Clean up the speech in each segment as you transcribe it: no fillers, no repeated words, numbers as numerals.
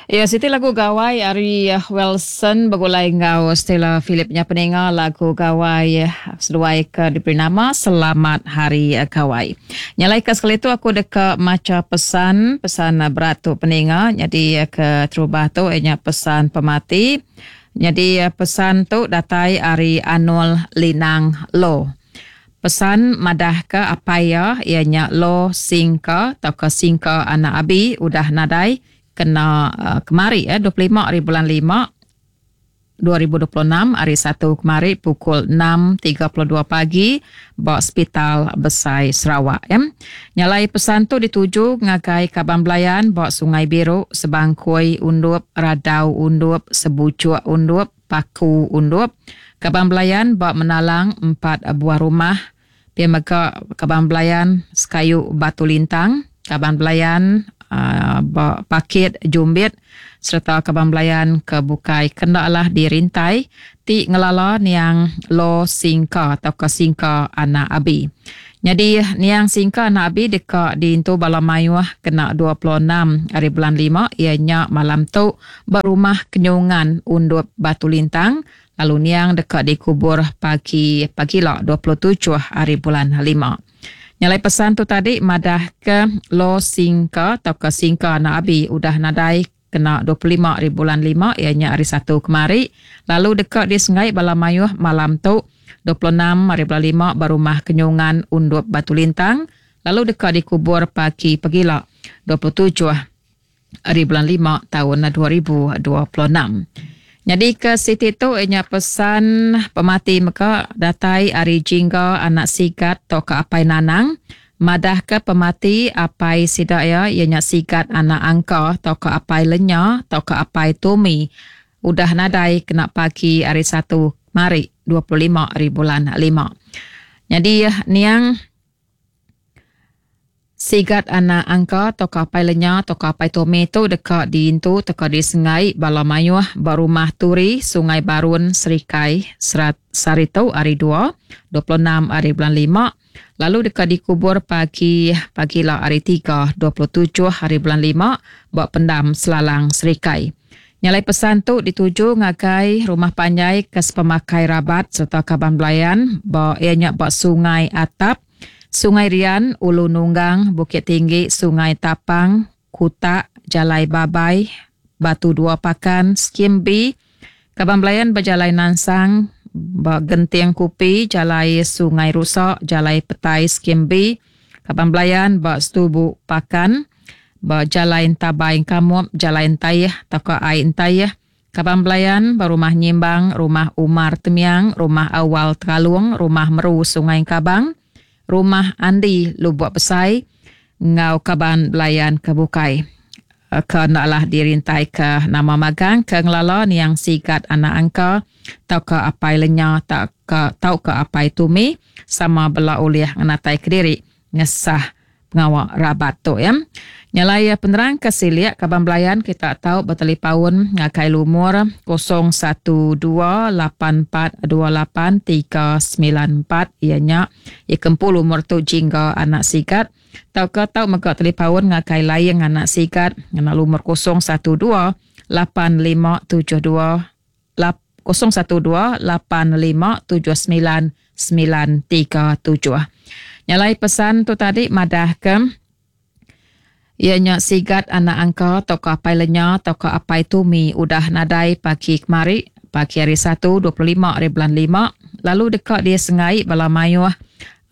Iya siti lagu gawai ari Welson begulai enggau Stella Philip nya peninga lagu gawai seduai ke diberi nama Selamat Hari Gawai. Nya alai ke sekali tu aku deka macha pesan pesan berat tu peninga nyadi ke terubah tu iya nya pesan pemati. Nyadi pesan tu datai ari Anol Linang Lo. Pesan madahka apai iya, iya nya Lo Singka tauka Singka anak Abi udah nadai kena kemari 25 hari bulan lima 2026 hari Satu kemari pukul 6.32 pagi ba Sepital Besai Sarawak. Nya alai pesan tu dituju ngagai kaban belayan ba Sungai Biru, Sebangkoi Undup, Radau Undup, Sebuchuk Undup, Paku Undup, kaban belayan ba Menalang empat buah rumah, pia mega kaban belayan sekayu Batu Lintang, kaban belayan ba Pakit Jumbit sereta kaban belayan ke bukai ke enda alah dirintai ti ngelala niang Lo Singka tauka Singka Anak Abi. Nyadi niang Singka Anak Abi deka diintu bala mayuh kena 26 hari bulan lima iya nya malam tu ba Rumah Kenyungan Undup Batu Lintang lalu niang deka dikubur pagi pagila 27 hari bulan lima. Nya alai pesan tu tadi madahka Lo Singka tauka Singka Anak Abi udah nadai kena 25 hari bulan lima iya nya hari Satu kemari lalu deka disenggai bala mayuh malam tu 26 hari bulan lima ba Rumah Kenyungan Undup Batu Lintang lalu deka dikubur pagi pagila 27 ari bulan lima taun 2026. Nyadi ke siti tu iya nya pesan pemati mega datai ari Jingga anak Sigat tauka Apai Nanang madahka pemati apai sida iya iya nya Sigat anak Angka tauka Apai Lenya tauka Apai Tumi udah nadai kena pagi hari Satu kemari 25 ari bulan lima. Nyadi niang Sigat anak angka tauka apai lenya tauka apai Tommy tu deka diintu tauka disenggai bala mayuh ba Rumah Turi, Sungai Barun, Serikai, Serat sehari tu, Hari Dua, 26 ari bulan lima, lalu deka dikubur pagi pagila Hari Tiga, 27 ari bulan lima ba Pendam Selalang, Serikai. Nya alai pesan tu dituju ngagai rumah panjai ke sepemakai rabat sereta kaban belayan ba iya nya ba Sungai Atap, Sungai Rian, Ulu Nunggang, Bukit Tinggi, Sungai Tapang, Kutak, Jalai Babai, Batu Dua Pakan, Skim B, Kaban Belayan ba Jalai Nansang, ba Genting Kupi, Jalai Sungai Rusa, Jalai Petai, Skim B, Kaban Belayan ba Setubu Pakan, ba Jalai Entabai Engkamup, Jalai Entaih tauka Ai Entaih, Kaban belayan ba Rumah Nyimbang, Rumah Umar Temiang, Rumah Awal Teralung, Rumah Meru Sungai Engkabang, Rumah Andi Lubok Besai enggau kaban belayan ke bukai ke enda alah dirintaika nama magang ke ngelala niang Sigat anak Angka tauka Apai Lenya tauka tauka Apai Tumi sama bela ulih ngenatai kediri ngesah pengawa rabat tu ya. Nya alai penerang ke silik kaban belayan kita tau betalipaun ngagai lumur 0128428394 iya nya iya ke empu lumur tu Jingga anak Sigat tauka tau mega talipaun ngagai Laing anak Sigat ngena lumur 0128572 012-8579 937. Nya alai pesan tu tadi madahka iya nya sigat anak angka tauka apai lenya tauka apai tumi udah nadai pagi kemari pagi hari Satu 25 hari bulan lima lalu deka disengai bala mayuh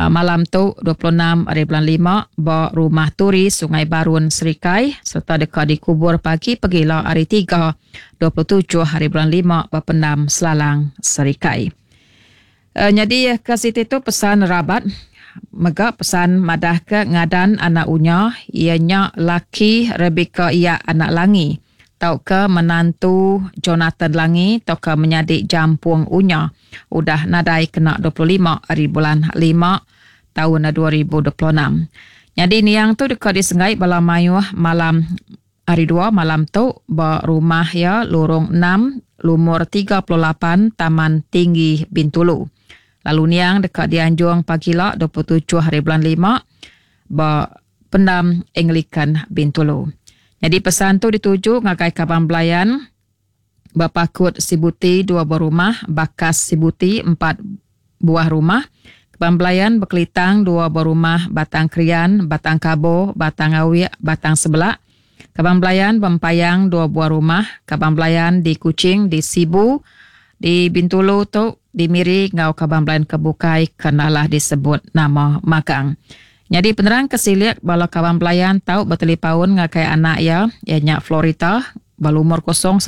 Malam tu, 26 ari bulan lima, ba Rumah Turi, Sungai Barun, Serikai sereta deka dikubur pagi pegila Hari Tiga, 27 ari bulan lima ba Pendam Selalang, Serikai. Nyadi ke siti tu pesan rabat mega pesan madahka ngadan anak Unya iya nya laki Rebecca Iyak anak Langi. tauka menantu Jonathan Langi tauka menyadi Jampung Unya udah nadai kena 25 ari bulan lima taun 2026. Nyadi niang tu deka disenggai bala mayuh malam Hari Dua malam tu ba rumah iya Lorong enam Lumur 38 Taman Tinggi Bintulu. Lalu niang deka dianjung pagila 27 hari bulan lima ba Pendam Anglican Bintulu. Nyadi pesan tu dituju ngagai kaban belayan Bepakut Sibuti dua buah rumah, Bakas Sibuti empat buah rumah, Kaban belayan Bekelitang dua buah rumah, Batang Krian, Batang Kabo, Batang Awik, Batang Sebelak, Kaban belayan Bempayang dua buah rumah, Kaban belayan di Kuching, di Sibu, di Bintulu tu, di Miri enggau kaban belayan ke bukai ke enda alah disebut nama magang. Nyadi penerang ke silik bala kaban belayan tau betelipaun ngagai anak iya, iya nya Florita, ba lumur 014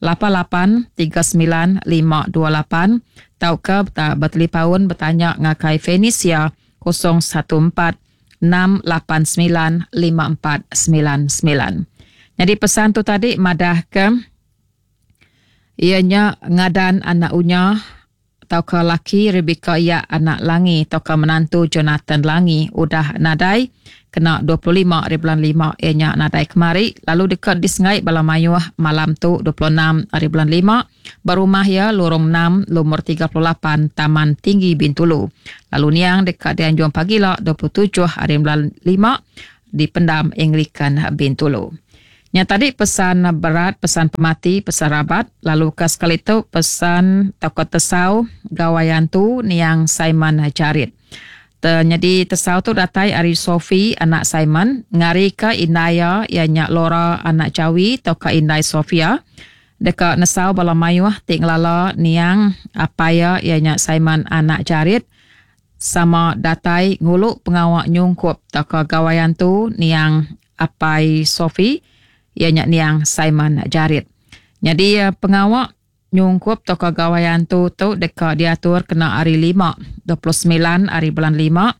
lapan lapan 39 528 tauka betelipaun betanya ngagai Fenisia 014 6 lapan semilan lima empat semilan semilan. Nyadi pesan tu tadi madahka iya nya ngadan anak unya tauka laki Rebecca iya anak Langi tauka menantu Jonathan Langi udah nadai kena 25 hari bulan lima iya nya nadai kemari lalu deka disengai bala mayuh malam tu 26 hari bulan lima ba rumah iya Lorong 6 Lumur 38 Taman Tinggi Bintulu lalu niang deka dianjung pagila 27 hari bulan lima di Pendam Anglican Bintulu. Nya tadi pesan berat, pesan pemati, pesan rabat lalu ke sekali tu pesan tauka tesau Gawai Antu niang Simon Jarit. Te nyadi tesau tu datai ari Sophie anak Simon ngarika indai iya iya nya Laura anak Jawi tauka indai Sophia deka nesau bala mayuh ti ngelala niang apai iya iya nya Simon anak Jarit sama datai ngulu pengawa nyungkup tauka Gawai Antu niang Apai Sophie iya nya niang Simon Jarit. Nyadi pengawa nyungkup tauka Gawai Antu tu deka diatur kena hari Lima, 29 hari bulan lima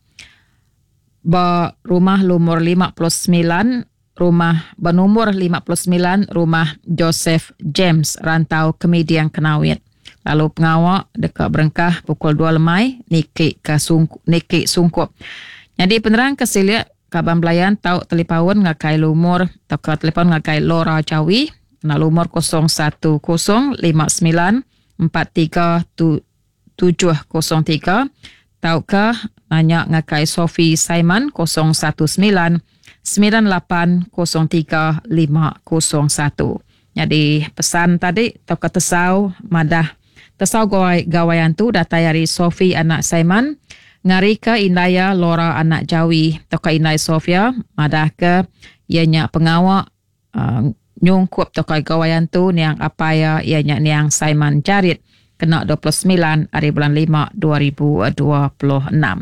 ba rumah lumur 59 rumah ba numur 59 rumah Joseph James Rantau Kemiding Kenawit. Lalu pengawa deka berengkah pukul dua lemai niki ke niki sungkup. Nyadi penerang ke silik kaban belayan tau telipaun ngagai lumur tauka telefon ngagai Laura Jawi ngena lumur 010 59 43 703 tauka nanya ngagai Sophie Simon 019 98 03 501. Nyadi pesan tadi tauka tesau madah tesau gawai gawai antu datai ari Sophie anak Simon ngarika indai iya Laura anak Jawi tauka indai Sophia madahka iya nya pengawa uhh nyungkup tauka gawai antu niang apai iya iya nya niang Simon Jarit kena 29 hari bulan lima 2026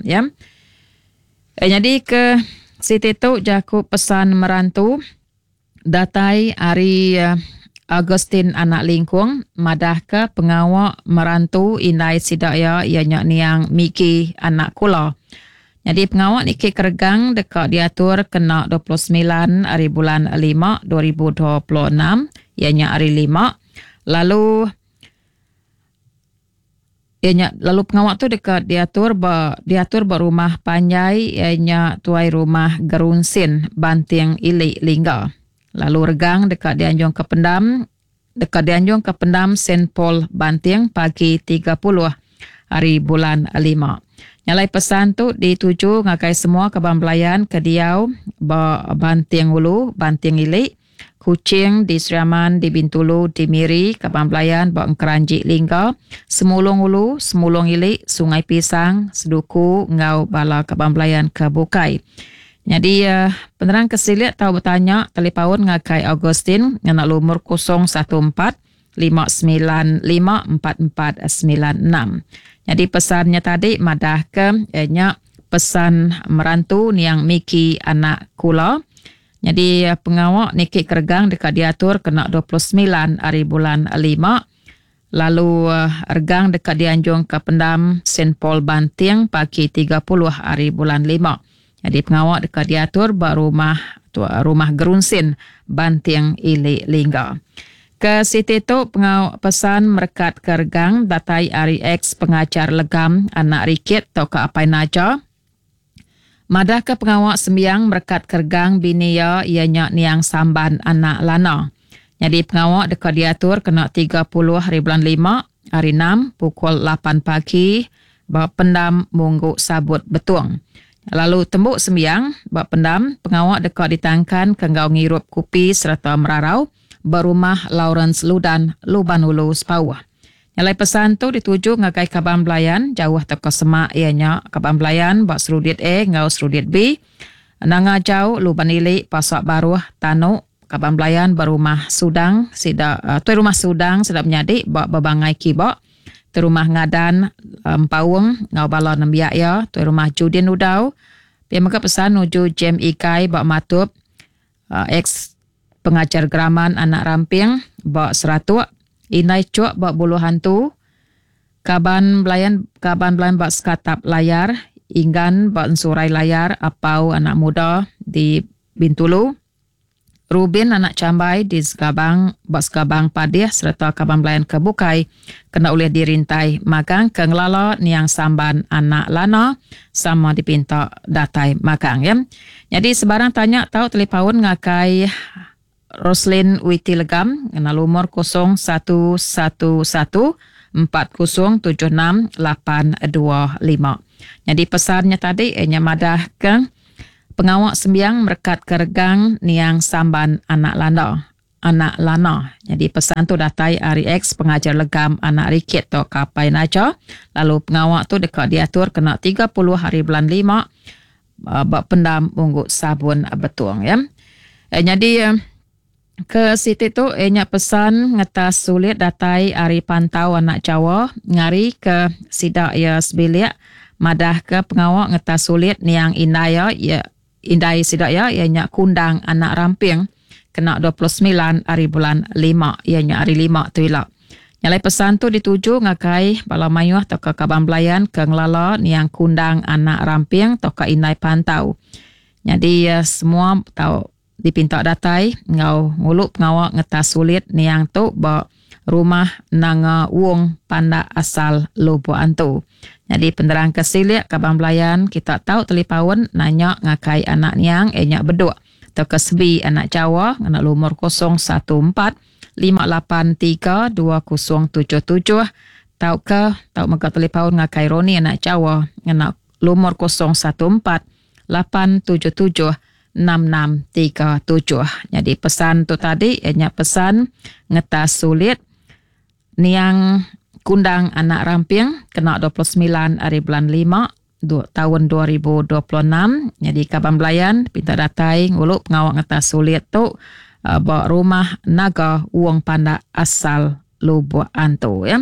ya. Nyadi ke siti tu jaku pesan merantu Datai ari Augustine anak Lingkung madahka pengawa merantu indai sida iya iya nya niang Miki anak Kula. Nyadi pengawa niki keregang deka diatur kena 29 hari bulan lima 2026 iya nya hari Lima lalu Iya nya lalu pengawa tu deka diatur ba diatur ba rumah panjai iya nya tuai rumah Gerunsin Banting Ili Lingga. Lalu regang deka dianjung ke pendam deka dianjung ke pendam Saint Paul Banting pagi 30 hari bulan lima. Nya alai pesan tu dituju ngagai semua kaban belayan ke diau ba Banting Ulu, Banting Ili, Kuching, di Sri Aman, di Bintulu, di Miri, Kaban Belayan ba Engkeranji Lingga, Semulong Ulu, Semulong Ili, Sungai Pisang, Seduku enggau bala kaban belayan ke bukai. Nyadi penerang ke silik tau betanya talipaun ngagai Augustine ngena lumur 014 595 4496. Nyadi pesan nya tadi madahka nya pesan merantu niang Miki anak Kula. Nyadi pengawa niki keregang deka diatur kena 29 hari bulan lima lalu regang deka dianjung ke pendam Saint Paul Banting pagi 30 hari bulan lima. Nyadi pengawa deka diatur ba rumah rumah Gerunsin Banting Ili Lingga. Ke siti tu pengawa pesan merekat ke regang datai ari ex pengajar Legam anak Rikit tauka Apai Naja. Madahka pengawa sembiang merekat keregang bini iya iya nya niang Samban anak Lana. Nyadi pengawa deka diatur kena 30 hari bulan lima, hari enam pukul lapan pagi ba Pendam Munggu Sabut Betong. Lalu tembu sembiang ba pendam, pengawa deka ditangkan ke enggau ngirup kupi sereta merarau ba Rumah Lawrence Ludan, Luban Ulu, Sepauh. Nyalai pesan tu dituju ngagai kaban belayan jauh tauka semak iya nya kaban belayan ba Serudit A enggau Serudit B, Nanga Jau, Luban Ili, Pasak Baruh, Tanu, kaban belayan ba Rumah Sudang sida tuai Rumah Sudang sida menyadi ba Bebangai Kiba, tuai Rumah Ngadan Empaung enggau bala nembiak iya, tuai Rumah Judin Udau. Pia mega pesan nuju Jem Igai ba Matup, Ex Pengajar Geraman Anak Ramping ba Seratok, Indai Chok ba Buluh Hantu, kaban belayan kaban belayan ba Sekatap Layar, Inggan ba Ensurai Layar, Apau Anak Muda di Bintulu, Rubin Anak Chambai di Segabang ba Segabang Padih sereta kaban belayan ke bukai kena ulih dirintai magang ke ngelala niang Samban Anak Lana sama dipinta datai magang ya. Nyadi sebarang tanya tau telipaun ngagai Roslin Witi Legam ngena lumur 0111 4076 825. Nyadi pesan nya tadi nya madah ke pengawa sembiang merekat ke regang niang Samban Anak Landa. Anak Lana. Nyadi pesan tu datai ari ex pengajar Legam Anak Rikit tauka Apai Naja lalu pengawa tu deka diatur kena 30 hari bulan lima ba pendam Munggu Sabun Betong ya. Nyadi ke siti tu iya nya pesan ngetas sulit datai ari pantau anak Jawa ngari ke sida iya sebilik madah ke pengawa ngetas sulit niang indai iya Indai sida iya, iya nya Kundang anak Ramping, kena 29 hari bulan lima, iya nya hari lima tu ila. Nya alai pesan tu dituju ngagai bala mayuh tauka kaban belayan ke ngelala niang Kundang anak Ramping tauka Indai Pantau. Nyadi semua tau dipinta datai enggau ngulu pengawa ngetas sulit niang tu ba Rumah Nanga Wong Pandak Asal Lubok Antu. Nyadi penerang ke silik kaban belayan kita tau telipaun nanya ngagai anak niang iya nya Beduk tauka Sebi anak Jawa ngena lumur 014 583 2077 tauka tau mega telipaun ngagai Roni anak Jawa ngena lumur 014 877 6637. Nyadi pesan tu tadi iya nya pesan ngetas sulit niang Kundang anak Ramping kena 29 hari bulan lima taun 2026. Nyadi kaban belayan pinta datai ngulu pengawa ngetas sulit tu ba Rumah Naga Wong Pandak Asal Lubok Antu ya.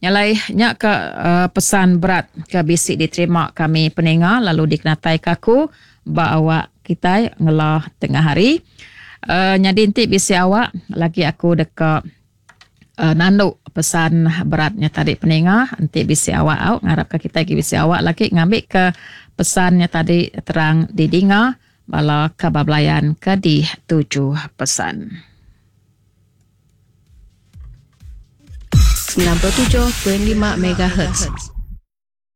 Nya alai nya ka uh, pesan berat ke bisi diterima kami peninga lalu dikenatai ka aku ba awak kitai ngela tengah hari. Uh, nyadi enti bisi awak lagi aku deka uh, nandu pesan berat nya tadi peninga enti bisi awak au ngarap ka kitai agi bisi awak lagi ngambi ke pesan nya tadi terang didinga bala kaban belayan ke dituju pesan. 97.5 MHz.